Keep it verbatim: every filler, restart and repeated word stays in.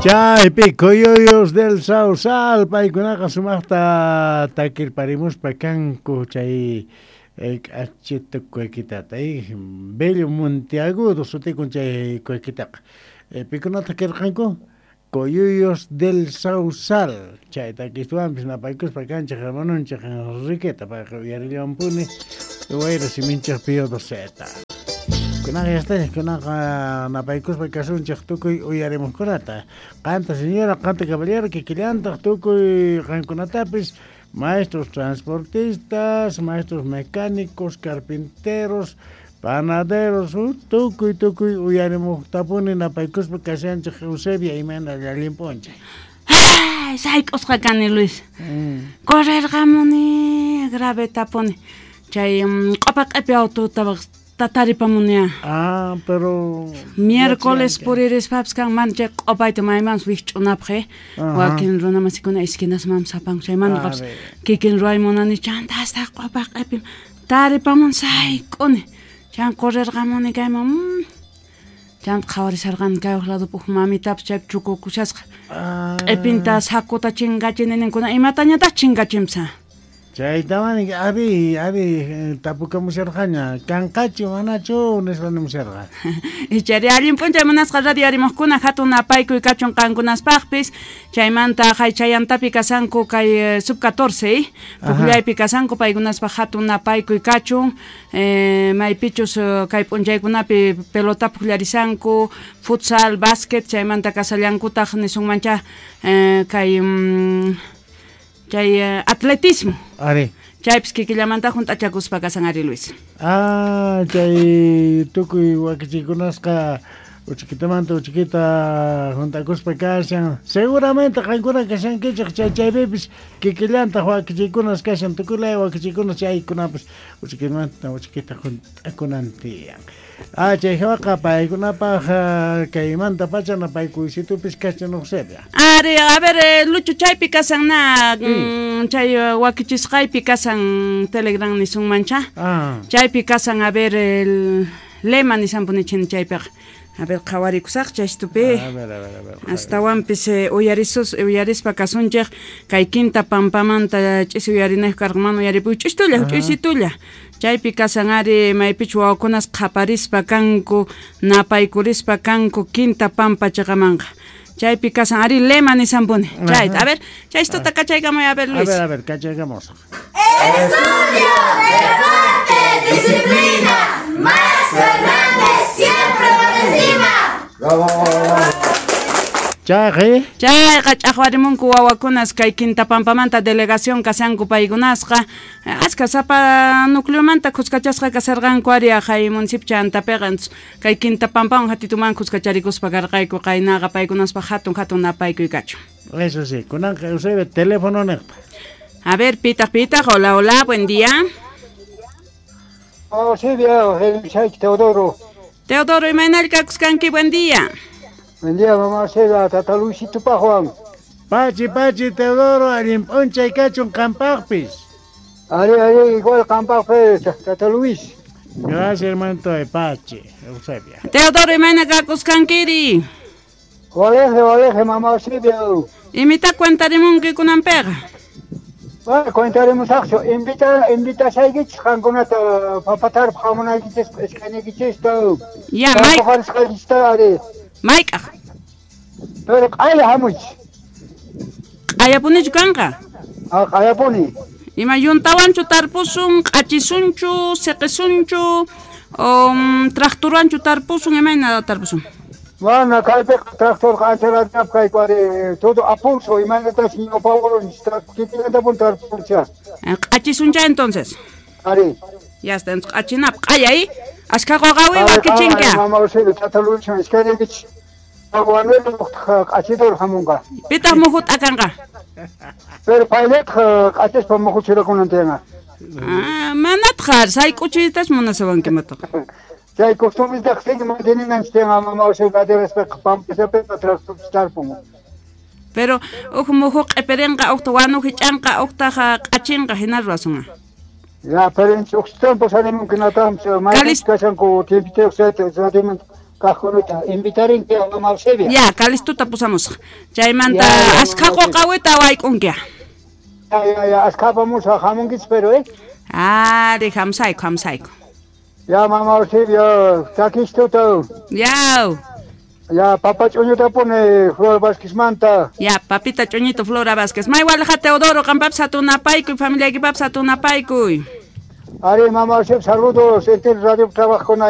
Chaypi Coyuyos del Sausal paykunaqa sumaqta takirparimuspa kanku chay k'achita cuequitata Bello Monteagudo sutikun chay cuequitaqa pikunataq kirqanku Coyuyos del Sausal chay takistuwanpis napaykuspa kanchik hermanunchik Enriqueta payqa uyarillawanpuni wayra siminchik Pío Doceta. Kunaqa yastachik kunaqa napaykuspa kasunchik tukuy uyarimuqkunata qanta señora qanta caballero kikillantaq tukuy qankunatapis maestros transportistas, maestros mecánicos, carpinteros, panaderos, tukuy tukuy uyarimuqtapuni napaykuspa kashanchik Eusebia imayna allinpunchik. Ay, sayk'usqa kani Luis. Mm. Correrqamuni gravetapuni chay q'upa q'ipi autota tataripamunia. Ah, pero miércoles puririspapis kanman chay q'upayta maymanpis wikch'unapaq eh wakin runamasikuna esquinasmanpis apanku chaymantaqa kikin ruway munani chanta hasta q'upa q'ipim taripamun sayk'uni chan correrqamuni kayman chanta qhawarisharqani kay huk ladopi huk mamitapis chaypi chukukushasqa q'ipinta sakuta chinkachini ninkuna imatañataq chinkachinpis. Chaytawan ari ari tapukamusharqaña kanqachu manachu nispa nimusharqa. Ichari allin p'unchay munasqa radio arimuqkuna hatun napaykuy kachun qankunaspaqpis chaymanta haychayantapi kasanku kay sub catorce pukllaypi kasanku paykunaspaq hatun napaykuy kachun eh, maypichus kay p'unchaykunapi pelota pukllarisanku futsal básquet chaymanta kasallankutaq nisunmancha eh, kay mm, chay uh, atletismo. Ari. Chaypis kikillamanta hunt'achakuspa kasan ari Luis. Ah, chay tukuy wakichikunasqa uchikitamanta uchikita hunt'akuspa kashan. Seguramente qankuna kashankichik chay chaypipis kikillantaq wakichikunas kashan tukuy laya wakichikunas chaykunapis uchikitamanta uchikita hunt'akunan tiyan. Ah, chay hawaqa paykunapaq kaymanta pacha napaykuysitupis kashan Eusebia. Ari, a ver, eh, Lucho, chaypi kasan na mm, chay wakichisqaypi kasan Telegram nisunmancha. Ah. Chaypi kasan, a ver, el lema nisanpunichini chaypiqa. A ver, qhawarikusaq chaystupi. A ver, a ver, a ver. Astawanpis eh, uyarisus uyarispa kasunchik kay quinta pampamanta ch'isi uyarinayku karqan uyaripuy ch'istulla ch'isitulla. Chaypi kasan ari maypichu wawakunas qhaparispa kanku napaykurispa kanku quinta pampa chiqamanqa. Chaypi kasan ari lema nisanpuni. Chayta, a ver, chaystuta kachaykamuy, a ver Luis. A ver, a ver, kachaykamusaq. Estudio, deporte, disciplina, Max Fernández siempre por encima. ¡Bravo! Chayqa chayqa ch'aqwarimunku wawakunas kay quinta pampamanta delegación kasanku paykunasqa aska sapa nucleomanta khuskachasqa kasarqanku ari hay municipio chantapiqa kay quinta pampawan hatituman khuskacharikuspa karqayku qaynaqa paykunaspaq hatun hatun napaykuy kachun. Eso sí, kunanqa Eusebio teléfono niqta. A ver, pitaq pitaq, hola hola, buen día. Oh, Silvia, Teodoro. Teodoro, imaynallkakuskanki, buen día. Buen día, mamá Silvia, tata Luisito pa Juan. Pachi, pachi, Teodoro, allin p'unchay kachun qampaqpis. Ari, ari, igual qampaqpis, tata Luis. Gracias, hermanito de Pachi, Eusebia. Teodoro, imayna kakuskankiri. Waleje, waleje, mamá Silvia. Imita cuentarimunki kunanpiqa. Bueno, cuentaremos aqchu. Invita, invitasaykichis qankunata papatarpaq hamunaykichis iskayniykichista. Ya, may. Ari. Mayk'aq. Pero q'aya hamuch. Q'ayapunichu kanqa? Ah, q'ayapuni. Ima yuntawanchu tarpusun, q'achisunchu, siqisunchu, um, tractorwanchu tarpusun, imayna tarpusun? Bueno, kaypiqa tractorqa anchalatap kayku ari todo a pulso, imaynatash ñawpawrun kikillantapuni tarpuncha. Q'achisuncha entonces. Ari. Ya está, entonces q'achinapaq q'aya y askha qaqawi wakichinka. Mama Eusebio, tata Luis, iskayniykichis. Q'achidor hamunqa. Pitaq muhu t'akanqa? Pero paylataq q'achispa muhu churakunan tiyanqa. Ah, manataq sayk'uchiytas munasawanki mataqa. Chay costumbretaq sigue manteninanchis tiyanqa mama Eusebio laderaspaqa pampachapiqa tractorpis tarpun. Pero uj muhu q'ipirinqa, uqta wanu hich'anqa, uqtaq q'achinqa hina ruwasunqa. Ya, pero uq tiempo salimunki natam, maypichus kashanku tiempitayuq Kajkunata invitarinki mama Eusebia. Ya, Calistuta pusamusaq. Chaymanta askha qoqawita wayk'unki. Ya, ya, ya, askha apamusaq, hamunkichis pero, eh? Ari, hamusayku, hamusayku. Ya, mama Eusebia, chakistuta. Yaw. Ya, papa ch'uñuta pone Flor Vázquezmanta. Ya, papita ch'uñito Flora Vázquez. May walija Teodoro, qampapis hatunapaykuy, familiaykipapis hatunapaykuy. Ari, mama Eusebia, saludos, entero radio trabajokuna.